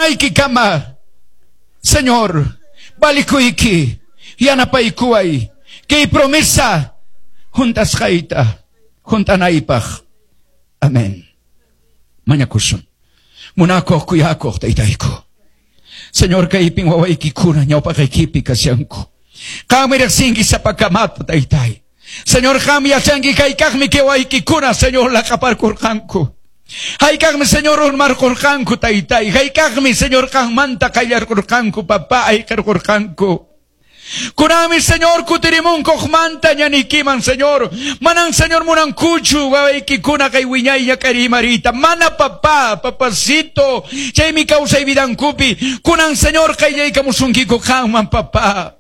Kutimunaykikama. Señor, valikuyki, yanapaykuway, kay promesa hunt'asqayta, hunt'anaypaq. Amén. Mañakusun. Munakuq kuyakuq taytayku. Señor, kaypin wawaykikuna ñawpaqaykipi kashanku. Qanmi riqsinki sapakamata, taytay. Señor, qanmi yachanki hayk'aqmi kay wawaykikuna, Señor, laq'aparkurqanku. Hayk'aqmi, Señor, urmarqurqanku, taytay. Hayk'aqmi, Señor, qanmanta qayllarqurqanku, papá, ayqirqurqanku. Kunanmi, Señor, kutirimunkuqmanta ñanikiman, Señor. Manan, Señor, munankuchu wawaykikuna kay wiñay ñak'arimarita. Mana, papá, papacito. Chaymi kawsay vidankupi. Kunan, Señor, qayllaykamusunkiku qanman, papá.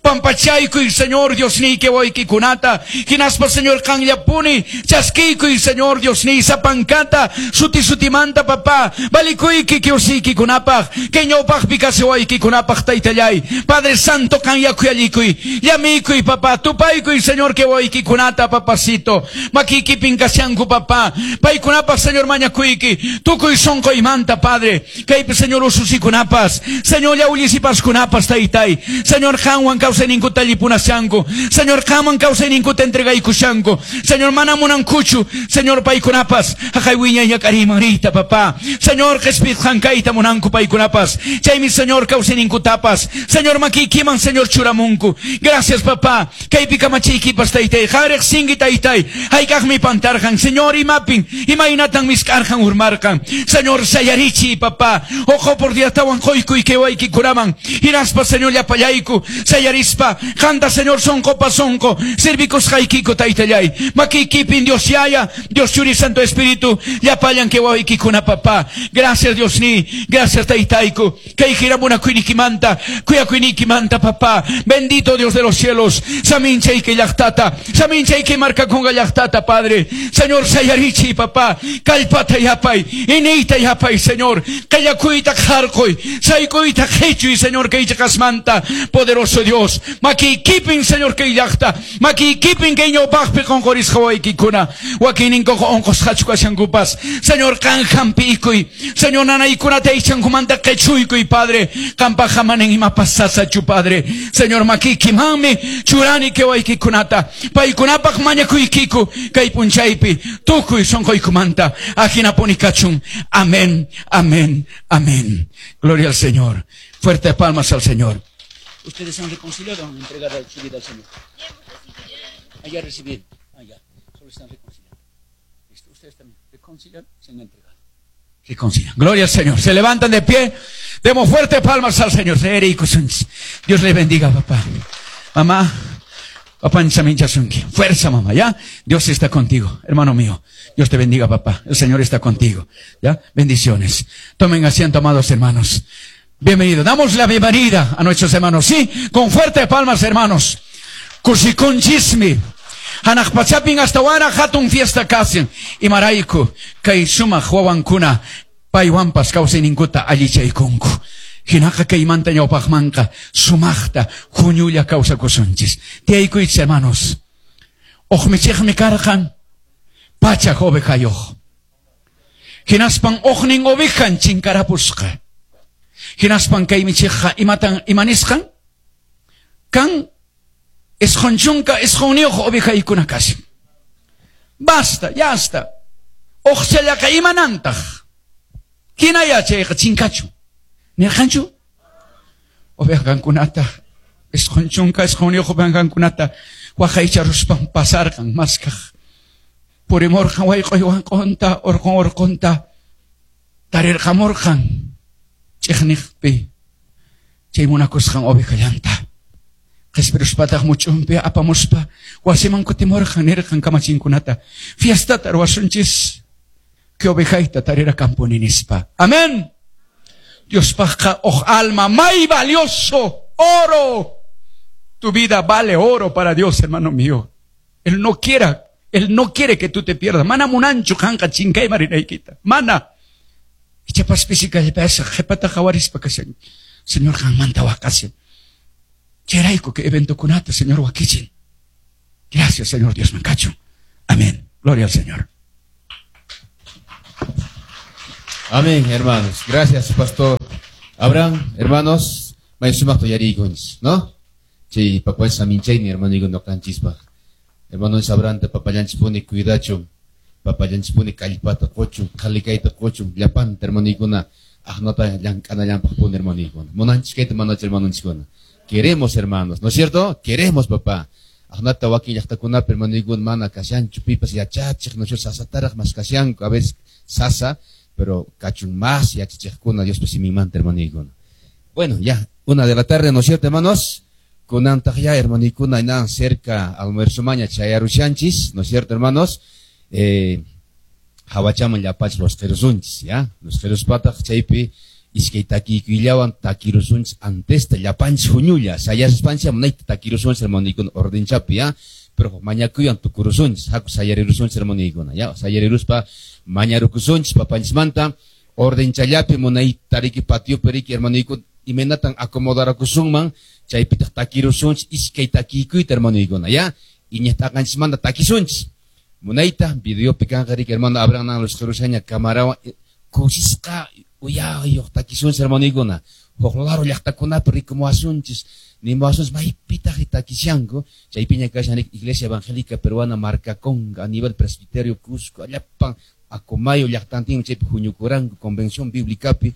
Pampachaykuy, Señor, Diosniyki wawaykikunata. Hinaspa, Señor, qanllapuni chaskiykuy, Señor, Diosniy sapankata suti sutimanta, papá. Valikuyki kiwsiykikunapaq, kay ñawpaqpi kasi wawaykikunapaq, taytallay. Padre Santo, qanya khuyallikuy, llamikuy, papá. Tupaykuy, Señor, kay wawaykikunata, papacito. Makiykipin kashanku, papá. Paykunapaq, Señor, mañakuyki. Tukuy sunquymanta, Padre. Kaypi, Señor, ususikunapas, Señor, llawllisipaskunapas, taytay. Señor, qanwan kawsayninkuta allipunashanku. Señor, qanman kawsayninkuta entregaykushanku. Señor, mana munankuchu, Señor, paykunapas, haqay wiñay ñak'ariyman riyta, papá. Señor, qhispitqan kayta munanku paykunapas. Chaymi, Señor, kawsayninkutapas, Señor, makiykiman, Señor, churamunku. Gracias, papá. Kaypi kamachiykipas, taytay. Qan riqsinki, taytay. Hayk'aqmi pantarqan, Señor, imapin, imaynatan misk'arqan, urmarqan. Señor, sayarichiy, papá. Uq oportunidadtawan quykuy kay wawaykikunaman. Hinaspa, Señor, llapallayku sayarispa, qanta, Señor, sunqupa sunqu servikusqaykiku, taytallay. Makiykipin, Dios Yaya, Dios Churi, Santo Espíritu, llapallan kay wawaykikuna, papá. Gracias, Dios ni, gracias, taytayku. Kay hina munakuynikimanta, kuyakuynikimanta, papá. Bendito Dios de los cielos. Saminchayki llaqtata, saminchayki markakunqa llaqtata, Padre. Señor, sayarichiy, papá. Kallpata yapay, iniyta yapay, Señor. Qillakuyta qarquy, saykuyta qichuy, Señor, kay chiqasmanta. Poderoso Dios. Makiykipin, Señor, kay llaqta. Makiykipin kay ñawpaqpi qunqurisqa wawaykikuna. Wakinninkuqa unqusqachu kashankupas. Señor, qan hampiykuy. Señor, nanaykunata aychankumanta qichuykuy, Padre. Qampaqqa manan imapas sasachu, Padre. Señor, makiykimanmi churani kay wawaykikunata. Paykunapaq mañakuykiku kay p'unchaypi tukuy sunquykumanta. Ajinapuni kachun. Amén, amén, amén. Gloria al Señor. Fuerte palmas al Señor. ¿Ustedes han reconciliado o han entregado su vida al Señor? Ah, ya recibieron. Ah, ya. Solo están reconciliando. Listo. Ustedes también reconcilian, se han entregado. Reconcilian. Gloria al Señor. Se levantan de pie. Demos fuerte palmas al Señor. Dios les bendiga, papá. Mamá. Papá. Fuerza, mamá, ¿ya? Dios está contigo, hermano mío. Dios te bendiga, papá. El Señor está contigo, ¿ya? Bendiciones. Tomen asiento, amados hermanos. Bienvenido. Damos la bienvenida a nuestros hermanos, ¿sí? Con fuertes palmas, hermanos. Kusikunchismi. Hanaq pachapin astawanraq hatun fiesta kashan. Imarayku kay sumaq wawankuna paywanpas kawsayninkuta allichaykunku. Hinaqa kaymanta ñawpaqmanqa sumaqta huñulla kawsakusunchis. Tiyaykuychis, hermanos. Uq michiqmi karqan pachak ovejayuq. Hinaspan uqnin ovejan chinkarapusqa. Hinaspan kay michiqqa imatan imanisqan? Kan 99 ovejaykuna kashan. Basta, ya está. Uqchallaqa imanantaq. Hinaya chayqa chinkachu. Nirqanchu? Ovejankunata, 99 ovejankunata waqaycharuspan pasarqan maskaq. Purimurqan wayq'uy wanq'unta, urqun urqunta tarirqamurqan ch'iqniqpi chay munakusqan ovejallanta. Qhispiruspataq much'unpi apamuspa wasiman kutimurqan nirqan kamachinkunata fiestata ruwasunchis kay ovejayta tarirakampuni nispa. Amén. Diospaqqa uj alma may valioso, oro. Tu vida vale oro para Dios, hermano mío. Él no quiere que tú te pierdas. Mana munanchu qanqa chinkayman rinaykita. Mana. Ichapas pisi kallpasaq qhipata qhawarispa kashan. Señor qanmanta waqashan. Chayrayku kay eventokunata, Señor, wakichin. Gracias, Señor Dios kachun. Amén. Gloria al Señor. Amén, hermanos. Gracias, pastor. Abraham, hermanos, may sumaqta uyariykunchis, ¿no? Chay papanchis saminchayni hermanoykuna ñuqanchispaq. Hermanos Abraham papallanchispuni cuidachun, papallanchispuni kallpata quchun, qhalikayta quchun, llapanta hermanoykuna aqnata llank'anallanpaqpuni hermanoykuna. Munanchis kayta manachu hermanonchiskuna. Queremos, hermanos, ¿no es cierto? Queremos, papá. Aqnata wakin llaqtakunapi hermanoykuna mana kashanchu, pipas yachachiq, ¿no es cierto? Sasataraq mas kashanku, a veces sasa, pero kachun más yachachiqkuna Diospa siminmanta hermanoykuna. Bueno, ya, 1 de la tarde, ¿no es cierto, hermanos? Kunantaq ya, hermanoykuna, nan cerca almuerzo maña chayarushanchis, ¿no es cierto, hermanos? Hawachaman llapachis los qhirusunchis, ya? Los qiruspataq chaypi iskay takiykullawan takirusunchis antesta llapanchis huñulla, sayaspanchis munayta takirusunchis hermanoykuna ordenchapi, ya? Pero mañakuywan tukurusunchis, haku sayarirusunchis hermanoykuna, ya? Sayariruspa mañarukusunchis papanchismanta ordenchallapi munayta riki patiopi riki hermanoykuna imaynatan acomodarakusunman chaypitaq takirusunchis iskay takiykuyta hermanoykuna, ya? Iñiqt'aqanchismanta takisunchis. Munayta videopi kanqa riki hermano Abraham nan los qhirusaña camarawan kusisqa uyayuq takisunchis hermanoykuna. Huk laro llaqtakunapi rikumuwasunchis, nimuwasunchis maypitaq takishanku, chaypiña kashan riki Iglesia Evangélica Peruana Marcaconga a nivel presbiterio Cusco, llapan Acomayo llaqtantin chaypi huñukuranku convención bíblicapi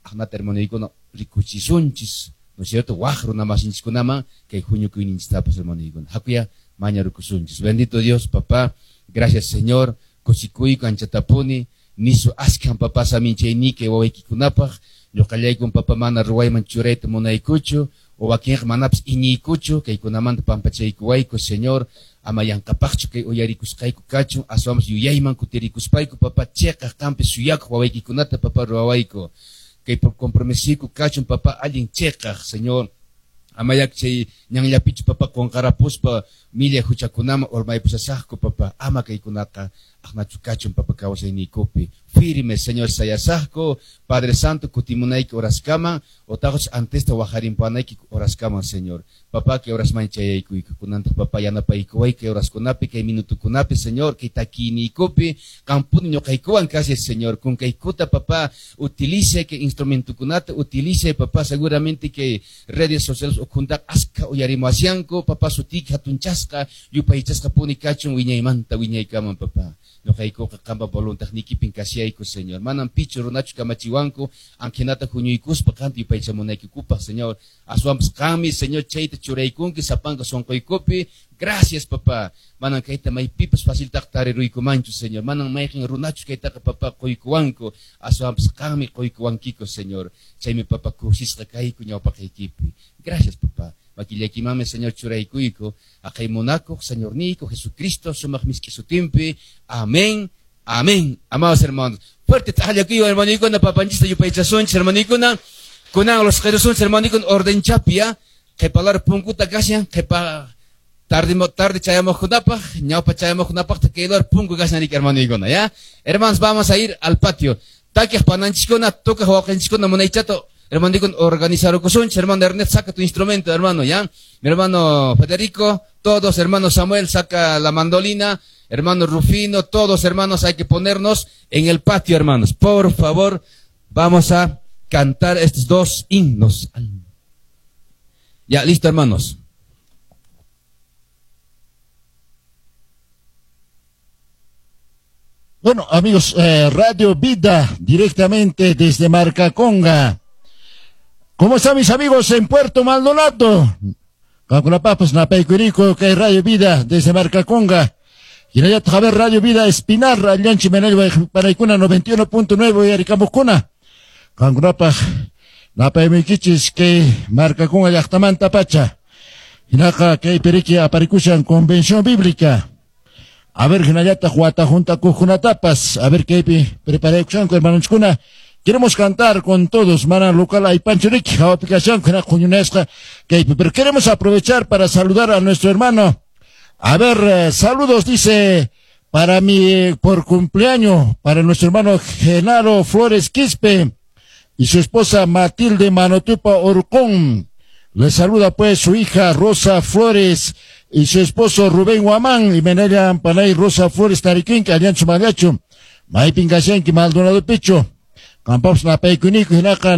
aqnata hermanoykuna rikuchisunchis, ¿no es cierto? Waq runamasinchikunaman kay huñukuyninchistapas hermanoykuna. Hakuya mañarukusunchis. Bendito Dios, papá. Gracias, Señor. Kusikuyku anchatapuni. Nisu askhan papá saminchayniki wawaykikunapaq. Ñuqallaykun papá mana ruwayman churayta munaykuchu. O wakinqa manapas iñiykuchu. Kaykunamanta pampachaykuwayku, Señor. Ama yanqapaqchu kay uyarikusqayku kachun. Aswanpas yuyayman kutirikuspayku, papá, chiqaq qampi suyakuq wawaykikunata, papá, ruwawayku. Kay compromisiku kachun, papá, allin chiqaq, Señor. Amayak chay ñanllapichu, papá, qunqarapuspa millay huchakunaman urmaypusasaqku, papá. Ama kaykunaqa aqnachu kachun, papá, kawsayniykupi. Firme, Señor, sayasaqku, Padre Santo, kutimunayki horaskaman, otaqus antesta wajarimpanayki horaskaman, Señor. Papá, kay horasman chayaykuyku. Kunantaq, papá, yanapaykuway kay horaskunapi, kay minutukunapi, Señor, kay takiyniykupi, qampuni ñuqaykuwan kashay, Señor. Kunkaykuta, papá, utilice kay instrumentukunata, utilice, papá, seguramente que redes sociales ukhuntaqa askha uyarimuwashanku, papá, sutiyki hatunchasqa, yupaychasqa puni kachun wiñaymanta wiñaykaman, papá. Ñuqaykuqa qampa voluntadniykipin kashayku, Señor. Manam pichu runachu kamachiwanku, anqhinata huñuykuspa qanta yupaychamunaykikupaq, Señor. Aswanpas qanmi, Señor, chayta churaykunki sapanka sunquykupi. Gracias, papá. Manam kayta maypipas faciltaqa tariruykumanchu, Señor. Manam mayqin runachu kaytaqa, papá, quykuwanku. Aswanpas qanmi quykuwankiku, Señor. Chaymi, papá, kusisqa kayku ñawpaqaykipi. Gracias, papá. Makillaykimanmi, Señor, churaykuyku. Aqhay munakuq, Señorniyku, Jesucristo, sumaq misk'i sutinpi. Amén. Amén. Amados hermanos. Fuerte t'aqllakuywan, hermanoykuna, papanchista yupaychasunchis, hermanoykuna. Kunan los qhirusunchis, hermanoykuna, ordenchapia. Qhipalar punkuta kashan, qhipa tarde tarde chayamuqkunapaq, ñawpa chayamuqkunapaqta kaylar punku kashan riki, hermanoykuna, ya. Hermanos, vamos a ir al patio. Takiq pananchiskuna, tukaq wawqinchiskuna munaychato, hermanoykuna, organizarukusunchis. Hermano Ernesto, saca tu instrumento, hermano, ya. Mi hermano Federico, todos, hermano Samuel, saca la mandolina. Hermano Rufino, todos, hermanos, hay que ponernos en el patio, hermanos. Por favor, vamos a cantar estos dos himnos. Ya, listo, hermanos. Bueno, amigos, Radio Vida, directamente desde Marcaconga. ¿Cómo están mis amigos en Puerto Maldonado? Papas, Napaycurico, que Radio Vida desde Marcaconga. Y en ver Radio Vida Espinar, Allanchi Menel, Paraicuna 91.9 y Aricamucuna. Kankunapaj, Napaymikichis, que Marcaconga llaqtamanta pacha. Hinaka, que periki aparikushan Convención Bíblica. A ver, hinallata wata junta kujkunatapas. A ver, kaypi preparaykushanku, hermanonchkuna. Queremos cantar con todos, mana local aypanchuriki, hawapikashanku, hina huñunasqa kaypi. Pero queremos aprovechar para saludar a nuestro hermano. A ver, saludos, dice, para mi, por cumpleaños, para nuestro hermano Genaro Flores Quispe y su esposa Matilde Manotupa Orcón. Le saluda pues su hija Rosa Flores y su esposo Rubén Guamán y Menella Ampanay Rosa Flores Tariquinca, Aliancho Magacho, Maipin Gashenki Maldonado Picho, Campos Napaykuniku, Hinaka.